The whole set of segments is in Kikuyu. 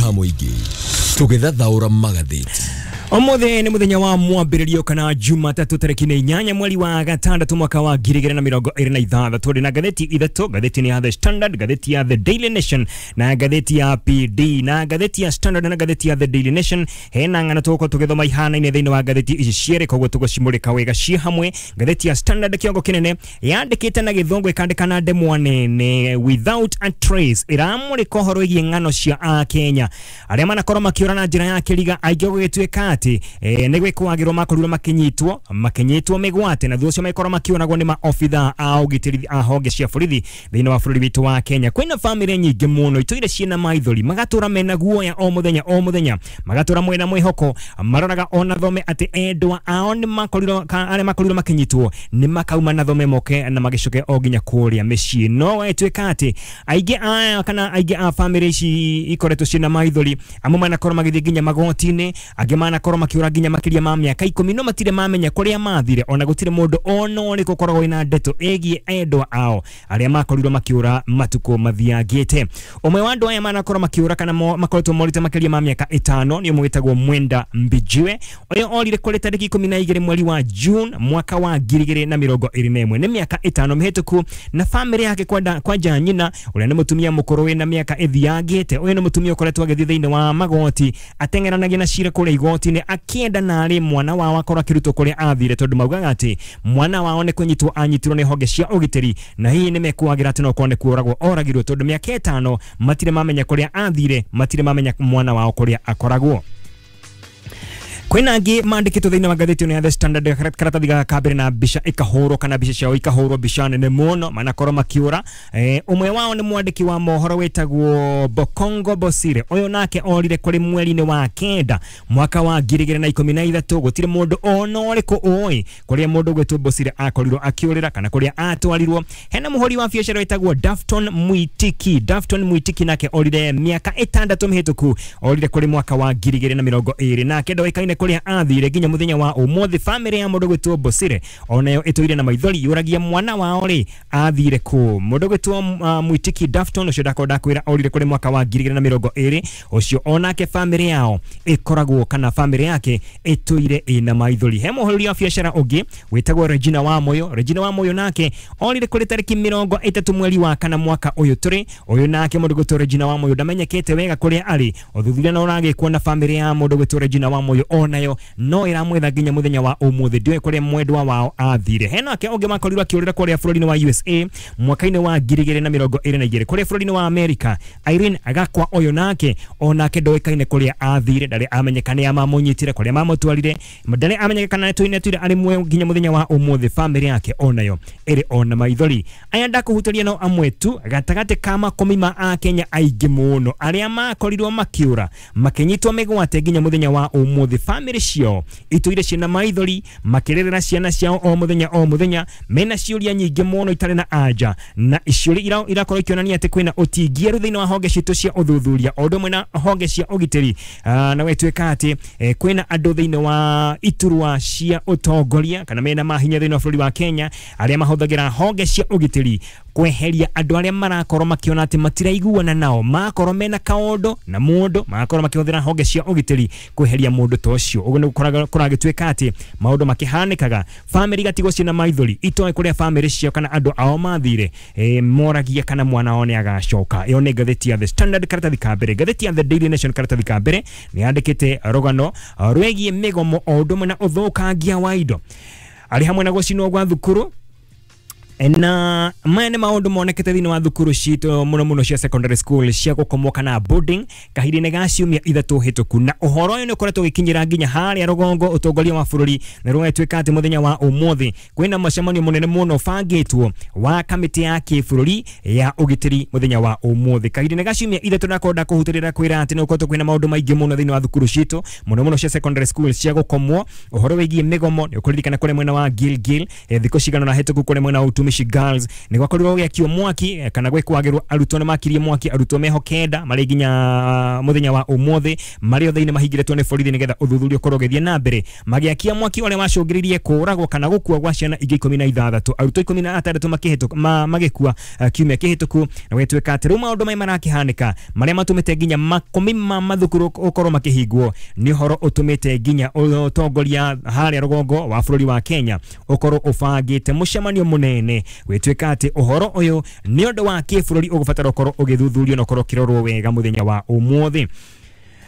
Ka mũingĩ tũgĩthathaũra magathĩti. Ũmũthĩ nĩ mũthenya wa mwambĩrĩrio kana Jumatatũ tarĩki nĩ 8 mweri wa 6 mwaka wa 2026. Tũrĩ na ngathĩti ithatũ, ngathĩti nĩ ya The Standard, ngathĩti ya The Daily Nation na ngathĩti ya PD. Na ngathĩti ya Standard na ngathĩti ya The Daily Nation hena ng'ano tũgũkorwo tũgĩthoma ihanaine thĩinĩ wa ngathĩti ici cierĩ, koguo tũgũcimũrĩka wega ciĩ hamwe. Ngathĩti ya Standard kĩongo kĩnene yandĩkĩte na gĩthũngũ ĩkandĩka na ndemwa nene "Without a Trace", ĩramũrĩka ũhoro wĩgiĩ ng'ano cia Akenya arĩa manakorwo makĩũra na njĩra ya kĩriga, aingĩ gũgĩtuĩka atĩ nĩ gwĩkwagĩrwo makorirwo makinyitwo mĩgwate na thutha ũcio magĩkorwo makĩũragwo nĩ maobitha a ũgitĩri a honge cia borithi thĩinĩ wa bũrũri witũ wa Kenya. Kwĩna bamĩrĩ nyingĩ mũno itũire ciĩna maithori, magatũra mena guoya o mũthenya o mũthenya, magatũra mwena mwĩhoko, maroraga ona thome atĩ endwa ao nĩ makorirwo arĩa makorirwo makinyitwo nĩ makauma na thome moke na magĩcoke o nginya kũrĩa mĩciĩ. No ĩtuĩka atĩ aingĩ aya kana aingĩ a bamĩrĩ ici ikoretwo ciĩna maithori, amwe manakorwo magĩthiĩ nginya magoti-inĩ, angĩ manakorwo makĩũra nginya makĩria ma mĩaka 10, no matirĩ mamenya kũrĩa mathire, ona gũtirĩ mũndũ ona ũrĩkũ ũkoragwo wĩna ndeto ĩgiĩ endwa ao arĩa makorirwo makĩũra matukũ mathiangĩte. Ũmwe wa andũ aya manakorwo makĩũra kana makoretwo morĩte makĩria ma mĩaka 5 nĩ ũmwe wĩtagwo Mwenda Mbijiwe. Ũyũ orire kũrĩ tarĩki 12 mweri wa June mwaka wa 2021, nĩ mĩaka 5 mĩhĩtũku, na bamĩrĩ yake kwanja nyina ũrĩa nĩ mũtumia mũkũrũ wĩna mĩaka ĩthiangĩte. Ũyũ nĩ mũtumia ũkoretwo agĩthiĩ thĩinĩ wa magoti ateng'eranagia na cira kũrĩa igoti-inĩ akĩenda narĩ mwana wao akorwo akĩrutwo kũrĩa athire, tondũ maugaga atĩ mwana wao nĩ kũnyitwo anyitirwo nĩ honge cia ũgitĩri na hihi nĩ mekuagĩra atĩ no korwo nĩ kũragwo oragirwo, tondũ mĩaka 5 matirĩ mamenya kũrĩa athire, matirĩ mamenya mwana wao kũrĩa akoragwo. Kwĩna angĩ mandĩkĩtwo thĩinĩ wa ngathĩti ĩno ya The Standard, karatathi gaka ka mbere, na mbica ikahũrwo kana mbica ciao ikahũrwo mbica nene mũno manakorwo makĩũra. Ũmwe wao nĩ mwandĩki wa mohoro wĩtagwo Bokongo Bosire. Ũyũ nake orire kũrĩ mweri-inĩ wa 9 mwaka wa 2013. Gũtirĩ mũndũ ona ũrĩkũ ũĩ kũrĩa mũndũ ũgwĩtwo Bosire akorirwo akĩũrĩra kana kũrĩa atwarirwo. Hena mũhũri wa biacara wĩtagwo Dafton Mwitiki. Dafton Mwitiki nake orire mĩaka 6 mĩhĩtũku, orire kũrĩ mwaka wa 2020, nake ndoĩkaine kũrĩa athire nginya mũthenya wa ũmũthĩ. Bamĩrĩ ya mũndũ gwĩtwo Bosire onayo ĩtũire na maithori yũragia mwana wao rĩ athire kũ. Mũndũ gwĩtwo Mwitiki Dafton ũcio ndakorwo ndakwĩra orire kũrĩ mwaka wa 2020, ũcio onake bamĩrĩ yao ĩkoragwo kana bamĩrĩ yake ĩtũire ĩna maithori. He mũhũri wa biacara ũngĩ wĩtagwo Regina Wamoyo. Regina Wamoyo nake orire kũrĩ tarĩki 30 mweri wa 4 mwaka ũyũ tũrĩ. Ũyũ nake mũndũ gwĩtwo Regina Wamoyo ndamenyekete wega kũrĩa arĩ. Ũthuthuria no ũragĩkwo na bamĩrĩ ya mũndũ gwĩtwo Regina Wamoyo onayo no ĩramwetha nginya mũthenya wa ũmũthĩ, ndiũĩ kũrĩa mwendwa wao athire. Hena ake ũngĩ makorirwo akĩũrĩra kũrĩa bũrũri-inĩ wa USA mwaka-inĩ wa 2022, kũrĩa bũrũri-inĩ wa America, Irene Agakwa. Ũyũ nake onake ndoĩkaine kũrĩa athire, ndarĩ amenyeka nĩ mamũnyitire, kũrĩa mamũtwarire, ndarĩ amenyeka kana nĩtũine tuire arĩ muoyo nginya mũthenya wa ũmũthĩ. Bamĩrĩ yake onayo ĩrĩ ona maithori. Aya ndakũhutĩria no amwe tu gatagatĩ ka makũmi ma Akenya aingĩ mũno arĩa makorirwo makĩũra makĩnyitwo mĩgwate nginya mũthenya wa ũmũthĩ. Bamĩrĩ ciao itũire ciĩna maithori makĩrĩrĩra ciana ciao o mũthenya o mũthenya, mena ciũria nyingĩ mũno itarĩ na anja, na ciũria irakorwo ikĩonania atĩ kwĩna ũtingieru thĩinĩ wa honge citũ cia ũthuthuria o ũndũ ũmwe na honge cia ũgitĩri. Na gwĩtuĩka atĩ kwĩna andũ thĩinĩ wa iturwa cia ũtongoria kana mena mahinya thĩinĩ wa bũrũri wa Kenya arĩa mahũthagĩra honge cia ũgitĩri kweheria andũ arĩa marakorwo makiona atĩ matiraiguana nao, makorwo mena kaũndũ na mũndũ, magakorwo makĩhũthĩra honge cia ũgitĩri kweheria mũndũ ta ũcio. Ũguo nĩ kũragĩtuĩka atĩ maũndũ makĩhanĩkaga, bamĩrĩ igatigwo ciĩna maithori itoĩ kũrĩa bamĩrĩ ciao kana andũ ao mathire, moragia kana mwana wao nĩ agacoka. Ĩyo nĩ ngathĩti ya The Standard karatathi ka mbere. Ngathĩti ya The Daily Nation karatathi ka mbere nĩ yandĩkĩte rũgano rwĩgiĩ mĩgomo o ũndũ ũmwe na ũthũkangia wa indo arĩ hamwe na gũcinwo gwa thukuru, na maya nĩ maũndũ monekete thĩinĩ wa thukuru citũ mũno mũno cia secondary school cia gũkomwo kana boarding kahinda-inĩ ga ciumia 3 hĩtũku. Na ũhoro ũyũ nĩ ũkoretwo ũgĩkinyĩra nginya harĩa rũgongo ũtongoria wa bũrũri, na rũgatuĩka atĩ mũthenya wa ũmũthĩ kwĩna mũcemanio mũnene mũno ũbangĩtwo wa kamĩtĩ ya kĩbũrũri ya ũgitĩri mũthenya wa ũmũthĩ. Kahinda-inĩ ga ciumia 3 ndakorwo ndakũhutĩrĩra kwĩra atĩ nĩ gũkoretwo kwĩna maũndũ maingĩ mũno thĩinĩ wa thukuru citũ mũno mũno cia secondary school cia gũkomwo. Ũhoro wĩgiĩ mĩgomo nĩ ũkũririkana kũrĩa mwena wa Gilgil, thikũ cigana na hĩtũku kũrĩa mwena wa Utumishi Girls nĩ gwakorirwo gũgĩakio mwaki kana gwĩkwagĩrwo arutwo nĩ makirie mwaki arutwo meho kenda marĩ nginya mũthenya wa ũmũthĩ marĩ othe-inĩ mahingĩrĩtwo nĩ borithi nĩgetha ũthuthuria ũkorwo ũgĩthiĩ na mbere magĩakia mwaki ũrĩa wacũngĩrĩirie kũragwo kana gũkua gwa ciana ingĩ 16 arutwo 16 magĩkua kiumia kĩhĩtũku na gwĩtuĩka atĩ rĩu maũndũ maya marakĩhanĩka marĩa matũmĩte nginya makũmi ma mathukuru ũkorwo makĩhingwo nĩ ũhoro ũtũmĩte nginya ũtongoria harĩa rũgongo wa bũrũri wa Kenya ũkorwo ũbangĩte mũcemanio mũnene gwĩtuĩka atĩ ũhoro ũyũ nĩ ũndũ wa kĩbũrũri ũgũbatara ũkorwo ũgĩthuthurio na ũkorwo ũkĩrorwo wega mũthenya wa ũmũthĩ.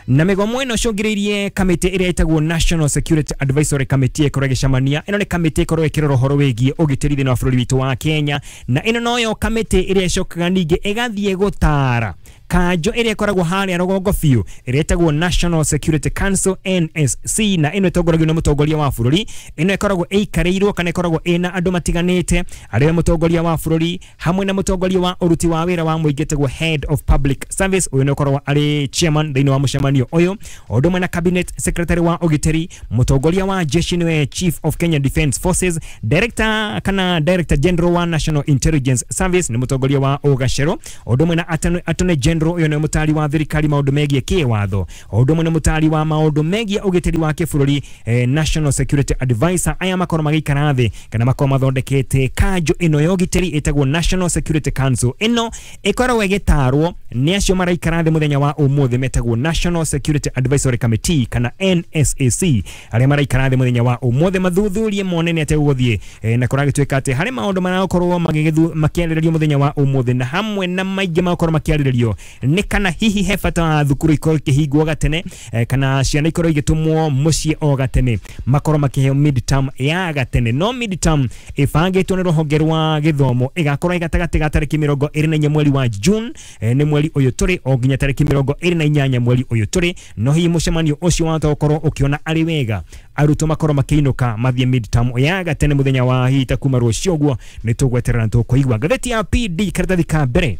Na mĩgomo ĩno ĩcũngĩrĩirie kamĩtĩ ĩrĩa ĩtagwo National Security Advisory Committee ĩkorwo ĩgĩcemania. Ĩno nĩ kamĩtĩ ĩkorwo ĩkĩrora ũhoro wĩgiĩ ũgitĩri thĩinĩ wa bũrũri witũ wa Kenya, na ĩno noyo kamĩtĩ ĩrĩa ĩcokaga ningĩ ĩgathiĩ gũtara kanjo ĩrĩa ĩkoragwo harĩa rũgongo biũ ĩrĩa ĩtagwo National Security Council NSC, na ĩno ĩtongoragio nĩ mũtongoria wa bũrũri. Ĩno ĩkoragwo ĩikarĩirwo kana ĩkoragwo ĩna andũ matiganĩte arĩa mũtongoria wa bũrũri hamwe na mũtongoria wa ũruti wa wĩra wa mũingĩ ĩtagwo Head of Public Service, ũyũ nĩ ũkoragwo arĩ chairman thĩinĩ wa mũcemanio ũyũ, o ũndũ ũmwe na cabinet secretary wa ũgitĩri, mũtongoria wa jeshi nĩwe Chief of Kenya Defence Forces, director kana director general wa National Intelligence Service nĩ mũtongoria wa ũgacero, o ũndũ ũmwe na attorney general ũyũ nĩ mũtari wa thirikari maũndũ megiĩ kĩwatho, o ũndũ ũmwe na mũtari wa maũndũ megiĩ ũgitĩri wa kĩbũrũri National Security Advisor. Aya makorwo magĩikara thĩ kana makorwo mathondekete kanjo ĩno ya ũgitĩri ĩtagwo National Security Council. Ĩno ĩkoragwo ĩgĩtarwo nĩ acio maraikara thĩ mũthenya wa ũmũthĩ metagwo National Security Advisory Committee kana NSAC, arĩa maraikara thĩ mũthenya wa ũmũthĩ mathuthurie mone nĩ atĩa gũgũthiĩ na kũragĩtuĩka atĩ harĩ maũndũ marakorwo makĩarĩrĩrio mũthenya wa ũmũthĩ, na hamwe na maingĩ magakorwo makĩarĩrĩrio nĩ kana hihi he bata wa thukuru ikorwo ikĩhingwo gatene kana ciana ikorwo igĩtũmwo mũciĩ o gatene makorwo makĩheo midterm ya gatene. No midterm ĩbangĩtwo nĩ rũhonge rwa gĩthomo ĩgakorwo ĩ gatagatĩ ga tarĩki 24 mweri wa June nĩ mweri ũyũ tũrĩ o nginya tarĩki 28 mweri ũyũ tũrĩ. No hihi mũcemanio ũcio wahota gũkorwo ũkĩona arĩ wega arutwo makorwo makĩinũka mathiĩ midterm ya gatene mũthenya wa hihi ta kuma rũciũ ũguo nĩ tũgweterera na tũkũigua. Ngathĩti ya PD karatathi ka mbere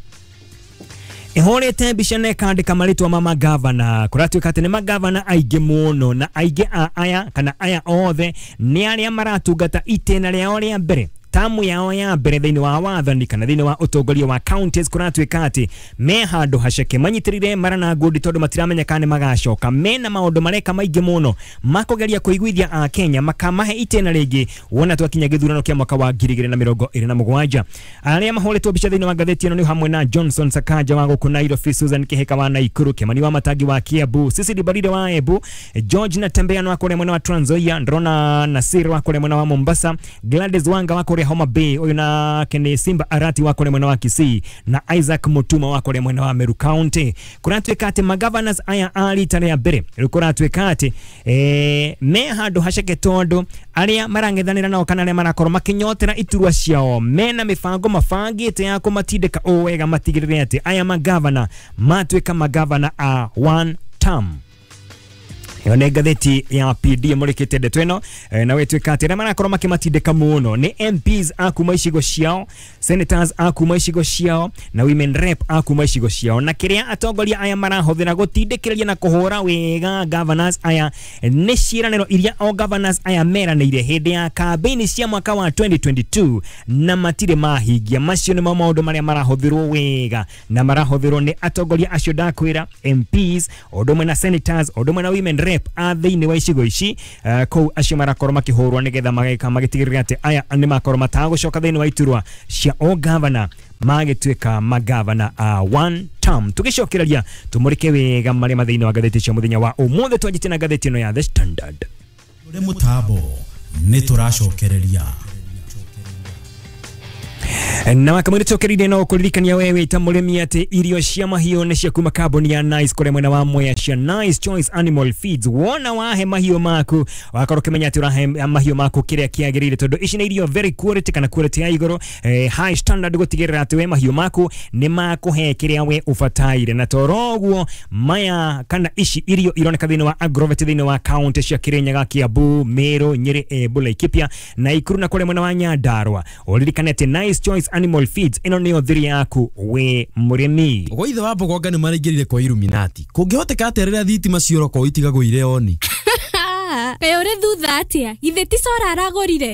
ihũrĩte mbica na ĩkandĩka marĩtwa ma magavana. Kũratuĩka atĩ nĩ magavana aingĩ mũno, na aingĩ a aya kana aya othe nĩ arĩa maratungata itĩna rĩao rĩa mbere, tamu yao ya mbere thĩinĩ wa wathani kana thĩinĩ wa ũtongoria wa counties. Kũratuĩka atĩ me handũ haceke manyitĩrĩire mara na ngundi tondũ matiramenya kana nĩ magacoka. Mena maũndũ mareka maingĩ mũno makũgeria kũiguithia a Kenya makamahe itĩna rĩngĩ wona twakinya gĩthurano kĩa mwaka wa 2027. Arĩa mahũrĩtwo mbica thĩinĩ wa ngathĩti ĩno nĩ hamwe na Johnson Sakaja wa gũkũ Nairobi, Susan Kihika wa Nakuru, Kimani wa Matangi wa Kiambu, Cecily Barire wa Embu, George Natembeya wa kũrĩa mwena wa Trans Nzoia, Ndrona Nasir wa kũrĩa mwena wa Mombasa, Gladys Wanga wa kũrĩa Homa Bay, ũyũ na Kene Simba Arati wa kũrĩa mwena wa Kisii, na Isaac Mutuma wa kũrĩa mwena wa Meru County. Kũratuĩka atĩ magavanors aya a rita rĩa mbere rĩu kũratuĩka atĩ me handũ haceke tondũ arĩa marang'ethanĩra nao kana arĩa marakorwo makĩnyotera iturwa ciao mena mĩbango mabangĩte ya kũmatindĩka ũũ wega matigĩrĩre atĩ aya magavana matuĩka magavana a one term. Ĩyo nĩ ngathĩti ya PD ĩmũrĩkĩte ndeto ĩno na gwĩtuĩka atĩ arĩa marakorwo makĩmatindĩka mũno nĩ MPs a kuma icigo ciao, senators a kuma icigo ciao na women rep a kuma icigo ciao, na kĩrĩa atongoria aya marahũthĩra gũtindĩkĩrĩria na kũhũra wega governors aya nĩ ciĩranĩro iria o governors aya meranĩire hĩndĩ ya kambĩini cia mwaka wa 2022 na matirĩ mahingia. Macio nĩmo maũndũ marĩa marahũthĩrwo wega na marahũthĩrwo nĩ atongoria acio ndakwĩra, MPs o ũndũ ũmwe na senators o ũndũ ũmwe na women rep a thĩinĩ wa icigo ici kũu acio marakorwo makĩhũrwo nĩgetha mageka magĩtigĩrĩra atĩ aya nĩ makorwo matagũcoka thĩinĩ wa iturwa cia o gavana magĩtuĩka magavana a one term. Tũgĩcokereria tũmũrĩke wega marĩa ma thĩinĩ wa ngathĩti cia mũthenya wa ũmũthĩ twanjĩtie na ngathĩti ĩno ya The Standard. Ũrĩ mũtambo nĩ tũracokereria na wakamwĩrĩ tũkĩrĩire no kũririkania we wĩ ta mũrĩmi atĩ irio cia mahiũ nĩ cia kuma kambuni ya Nice kũrĩa mwena wa Mwea cia Nice Choice Animal Feeds. Wona wahe mahiũ maku wakorwo ũkĩmenya atĩ ũrahe mahiũ maku kĩrĩa kĩagĩrĩire tondũ ici nĩ irio very quality kana quality ya igũrũ high standard gũtigĩrĩra atĩ we mahiũ maku nĩ makũhe kĩrĩa we ũbataire. Na toro ũguo maya kana ici irio ironeka thĩinĩ wa Agrovet thĩinĩ wa county cia Kirinyaga, Kiambu, Meru, Nyeri, Embu, Laikipia, Nakuru na kũrĩa mwena wa Nyandarua. Ũririkane atĩ Nice Choice Animal Feeds ĩno nĩyo thiri yaku we mũrĩmi. Gwa ithe wa Mbogonga nĩ maraingĩrire kwa Illuminati. Kũngĩhoteka atĩa rĩrĩa thitima ciora kwa itigagwo ire oni? Kaĩ ũrĩ thutha atĩa? Githĩ ti cora aragũrire?